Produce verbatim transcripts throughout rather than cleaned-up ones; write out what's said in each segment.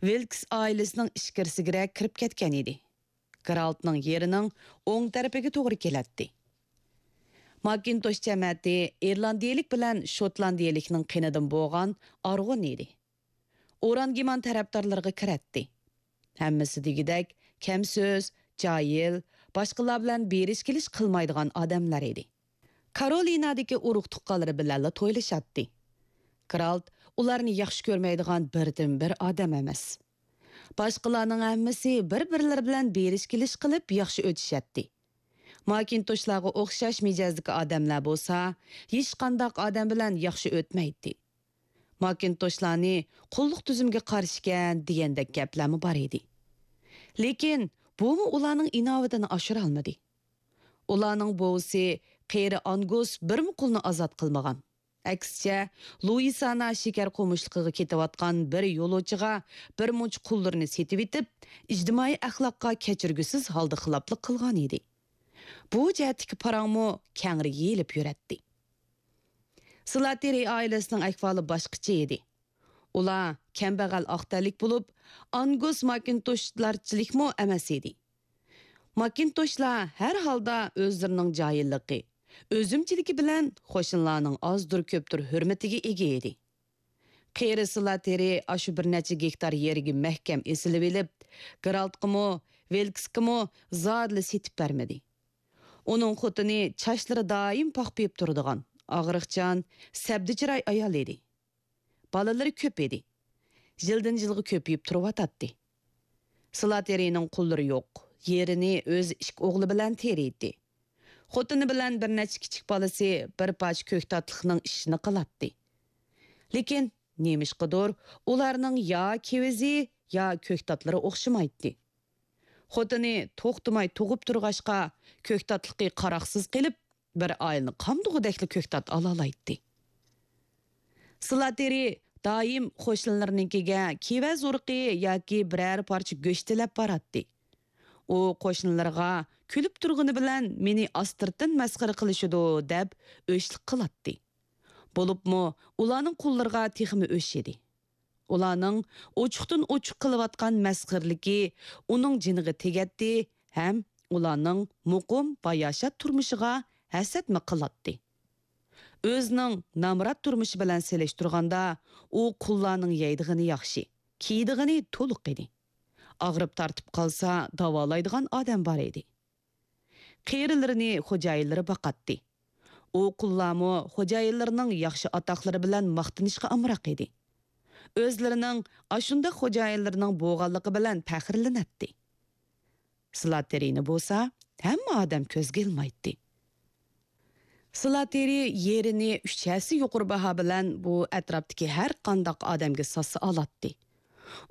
ۋىلكس ئائىلىسىنىڭ ئىچكىرىسىگىرەك كىرىپ كەتكەن ئىدى. گېرالتنىڭ يېرىنىڭ ئوڭ تەرىپىگە توغرا كېلەتتى. ماكىنتوش جەمەتى ئىرلاندىيىلىك بىلەن شوتلاندىيىلىكنىڭ قېنىدىن بولغان ئارغۇن ئىدى. ئورانگىمان تەرەپدارلىرىغا كىرەتتى. ھەممىسى دېگۈدەك كەم سۆز، جاھىل، باشقىلار بىلەن بېرىش-كېلىش قىلمايدىغان ئادەملەر ئىدى. كارولىنادىكى ئۇرۇق-تۇغقانلىرى بىلەنلا تويلىشاتتى. گېرالت ئۇلارنى ياخشى كۆرمەيدىغان بىردىنبىر ئادەم ئەمەس. باشقىلارنىڭ ھەممىسى بىر-بىرلىرى بىلەن بېرىش-كېلىش قىلىپ ياخشى ئۆتۈشەتتى. ماكىنتوشلارغا ئوخشاش مىجەزدىكى ئادەملەر بولسا، ھېچقانداق ئادەم بىلەن ياخشى ئۆتمەيتتى. ماكىنتوشلارنى قۇللۇق تۈزۈمگە قارشىكەن دېگەندەك گەپلەرمۇ بار ئىدى. لېكىن بۇمۇ ئۇلارنىڭ ئىناۋىتىنى ئاشۇرالمىدى. ئۇلارنىڭ بوۋىسى قېرى ئانگۇس بىرمۇ قۇلنى ئازاد قىلمىغان. ئەكسىچە، لۇئىسانا شېكەر قومۇشلۇقىغا كېتىۋاتقان بىر يولۇچىغا بىر مۇنچە قۇللىرىنى سېتىۋېتىپ، ئىجتىمائىي ئەخلاققا كەچۈرگۈسىز ھالدا خىلاپلىق قىلغان ئىدى. بۇ جەھەتتىكى پاراڭمۇ كەڭرى يېيىلىپ يۈرەتتى. سلاتېرى ئائىلىسىنىڭ ئەھۋالى باشقىچە ئىدى. ئۇلار كەمبەغەل ئاق تەنلىك بولۇپ، ئانگۇس ماكىنتوشلارچىلىكمۇ ئەمەس ئىدى. ماكىنتوشلار ھەر ھالدا ئۆزلىرىنىڭ جاھىللىقى، ئۆزۈمچىلىكى بىلەن قوشنىلارنىڭ ئازدۇر-كۆپتۇر ھۆرمىتىگە ئىگە ئىدى. قېرى سلاتېرى ئاشۇ بىر نەچچە گېكتار يېرىگە مەھكەم ئېسىلىۋېلىپ، گېرالتقىمۇ، ۋىلكسكىمۇ زادىلا سېتىپ بەرمىدى. ئۇنىڭ خوتۇنى چاچلىرى دائىم پاخپىيىپ تۇرىدىغان، ئاغرىقچان، سەبدە چىراي ئايال ئىدى. بالىلىرى كۆپ ئىدى. يىلدىن يىلغا كۆپىيىپ تۇرۇۋاتاتتى. سلاتېرىنىڭ قۇللىرى يوق. يېرىنى ئۆزى ئىككى ئوغلى بىلەن تېرىيتتى. خوتۇنى بىلەن بىر نەچچە كىچىك بالىسى بىر پارچە كۆكتاتلىقنىڭ ئىشىنى قىلاتتى. لېكىن نېمىشقىدۇر ئۇلارنىڭ يا كېۋىزى، يا كۆكتاتلىرى ئوخشىمايتتى. خوتۇنى توختىماي تۇغۇپ تۇرغاچقا، كۆكتاتلىقى قاراقسىز قېلىپ، بىر ئائىلىنى قامدىغۇدەكلا كۆكتات ئالالايتتى. سلاتېرى دائىم قوشنىلىرىنىڭكىگە كېۋەز ئۇرۇقى ياكى بىرەر پارچە گۆش تىلەپ باراتتى. ئۇ قوشنىلىرىغا كۈلۈپ تۇرغىنى بىلەن مېنى ئاستىرتىن مەسخىرە قىلىشىدۇ دەپ ئۆچلۈك قىلاتتى. بولۇپمۇ ئۇلارنىڭ قۇللىرىغا تېخىمۇ ئۆچ ئىدى. ئۇلارنىڭ ئوچۇقتىن ئوچۇق قىلىۋاتقان مەسخىرىلىكى ئۇنىڭ جېنىغا تېگەتتى ھەم ئۇلارنىڭ مۇقىم، باياشات تۇرمۇشىغا ھەسەتمۇ قىلاتتى. ئۆزىنىڭ نامرات تۇرمۇشى بىلەن سېلىشتۇرغاندا، ئۇ قۇللارنىڭ يەيدىغىنى ياخشى، كىيىدىغىنى تولۇق ئىدى. ئاغرىپ تارتىپ قالسا، داۋالايدىغان ئادەم بار ئىدى. قېرىلىرىنى خوجايىنلىرى باقاتتى. ئۇ قۇللارمۇ خوجايىنلىرىنىڭ ياخشى ئاتاقلىرى بىلەن ماختىنىشقا ئامراق ئىدى. ئۆزلىرىنىڭ ئاشۇنداق خوجايىنلىرىنىڭ بولغانلىقى بىلەن پەخىرلىنەتتى. سلاتېرىنى بولسا ھەممە ئادەم كۆزگە ئىلمايتتى. سلاتېرى يېرىنى ئۈچ ھەسسە يۇقىرى باھا بىلەن بۇ ئەتراپتىكى ھەر قانداق ئادەمگە ساتسا ئالاتتى.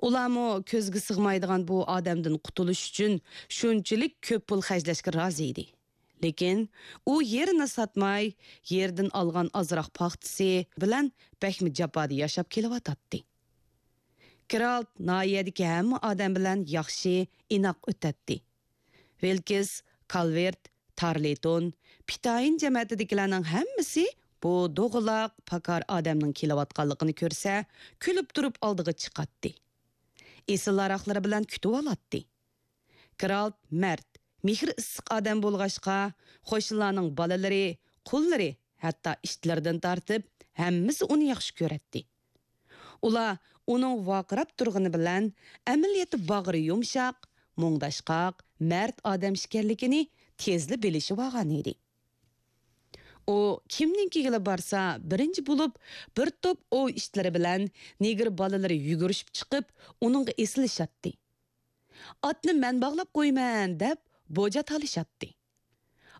ئۇلارمۇ كۆزگە سىغمايدىغان بۇ ئادەمدىن قۇتۇلۇش ئۈچۈن شۇنچىلىك كۆپ پۇل خەجلەشكە رازى ئىدى. لېكىن ئۇ يېرىنى ساتماي، يېرىدىن ئالغان ئازراق پاختىسى بىلەن بەكمۇ جاپادا ياشاپ كېلىۋاتاتتى. گېرالت ناھىيەدىكى ھەممە ئادەم بىلەن ياخشى، ئىناق ئۆتەتتى. ۋىلكىس، كالۋېرت، تارلېتون، پىتايىن جەمەتىدىكىلەرنىڭ ھەممىسى بۇ دوغىلاق، پاكار ئادەمنىڭ كېلىۋاتقانلىقىنى كۆرسە، كۈلۈپ تۇرۇپ ئالدىغا چىقاتتى. ئېسىل ھاراقلىرى بىلەن كۈتۈۋالاتتى. گېرالت مەرد، مېھرى ئىسسىق ئادەم بولغاچقا، قوشنىلارنىڭ بالىلىرى، قۇللىرى، ھەتتا ئىتلىرىدىن تارتىپ ھەممىسى ئۇنى ياخشى كۆرەتتى. ئۇلار ئۇنىڭ ۋارقىراپ تۇرغىنى بىلەن ئەمەلىيەتتە باغرى يۇمشاق، مۇڭداشقاق، مەرد ئادەم ئىكەنلىكىنى تېزلا بىلىشىۋالغان ئىدى. ئۇ كىمنىڭكىگىلا بارسا، بىرىنچى بولۇپ بىر توپ ئوۋ ئىتلىرى بىلەن نېگىر بالىلىرى يۈگۈرۈشۈپ چىقىپ، ئۇنىڭغا ئېسىلىشاتتى. «ئاتنى مەن باغلاپ قويىمەن» دەپ بوجا تالىشاتتى.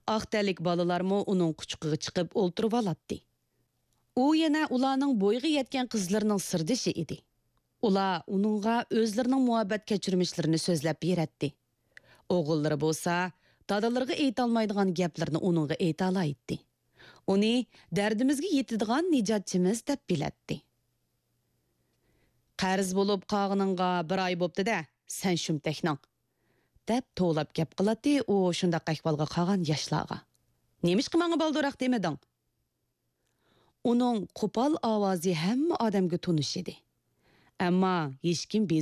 ئاق تەنلىك بالىلارمۇ ئۇنىڭ قۇچىقىغا چىقىپ ئولتۇرۇۋالاتتى. ئۇ يەنە ئۇلارنىڭ بويىغا يەتكەن قىزلىرىنىڭ سىردىشى ئىدى. ئۇلار ئۇنىڭغا ئۆزلىرىنىڭ مۇھەببەت كەچۈرمىشلىرىنى سۆزلەپ بېرەتتى. ئوغۇللىرى بولسا دادىلىرىغا ئېيتالمايدىغان گەپلىرىنى ئۇنىڭغا ئېيتالايتتى. ئۇنى دەردىمىزگە يېتىدىغان نىجاتچىمىز دەپ بىلەتتى. «قەرز بولۇپ قالغىنىڭغا بىر ئاي بوپتۇ-دە، سەن شۇمتەكنىڭ» دەپ توۋلاپ گەپ قىلاتتى ئۇ شۇنداق ئەھۋالغا قالغان ياشلارغا. «نېمىشقا ماڭا بالدۇرراق دېمىدىڭ؟» ئۇنىڭ قوپال ئاۋازى ھەممە ئادەمگە تونۇش ئىدى. ئەمما ھېچكىم